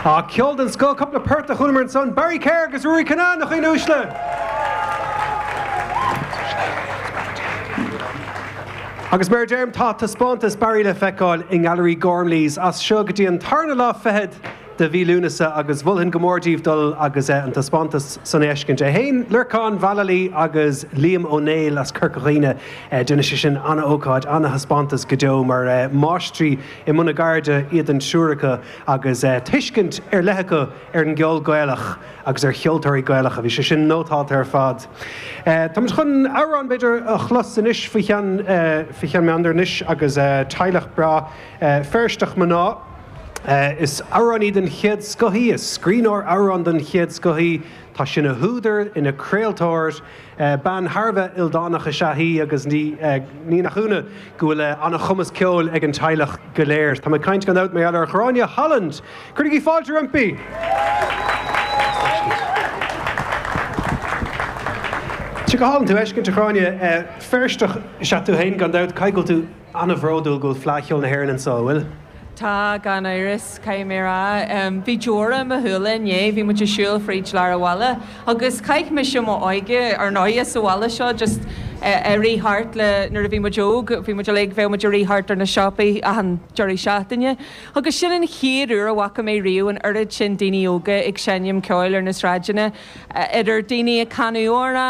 Á, ceol den scoth, cúpla port a chualamar ansan, Barry Kerr agus Ruairí Kinnane, a dhaoine uaisle! Agus mar a deirim, tá taispeántas Barry le feiceáil i nGailearaí Gormley's as seo go dtí an tarna lá fichead de mhí Lúnasa agus mholfainn go mór daoibh dul agus an taispeántas san a fheiscint. É féin, Lorcán Vallely agus Liam Ó Néill as Corca Dhuibhne, déanfaidh sé sin an-ócáid, an-thaispeántas go deo mar máistrí i mbun a gceirde iad an triúr acu agus tuiscint ar leith acu ar an gceol Gaelach agus ar cheoltóirí Gaelacha. Bhí sé sin nótálta ar fad. Táimid chun amhrán, b'fhéidir, a chlos anois faoi cheann, faoi cheann meandair anois agus teaghlach breá Feirsteach mná. Is amhránaí den chéad scoth í, is scríbhneoir amhrán den chéad scoth í. Tá sí ina húdar, ina craoltóir. Bean thar a bheith ildánach is ea í agus ní nach ionadh go bhfuil an-chumas ceoil ag an teaghlach go léir. Tá mé ag caint gan dabht mar gheall ar Ghráinne Holland! Cuirigí fáilte roimpi! Tá sé go hálainn tú a fheiscint, a Ghráinne. Feirsteach is ea tú féin gan dabht. Caithfidh go bhfuil tú an-bhródúil go bhfuil Fleadh Cheoil na hÉireann anseo, an bhfuil? Tá, gan amhras, caithfidh mé a rá. Bhí deora i mo shúile inné, bhí muid ag siúl fríd lár an bhaile agus chaith mise m'óige, ar ndóighe, sa bhaile seo, just ag rith thart le, nuair a bhí muid óg, bhí muid uilig, bheadh muid ag rith thart ar na siopaí achan deireadh seachtaine agus sin an chéad uair a bhfaca mé riamh an oiread sin daoine óga ag seinm ceoil ar na sráideanna, idir daoine ag canadh amhrán.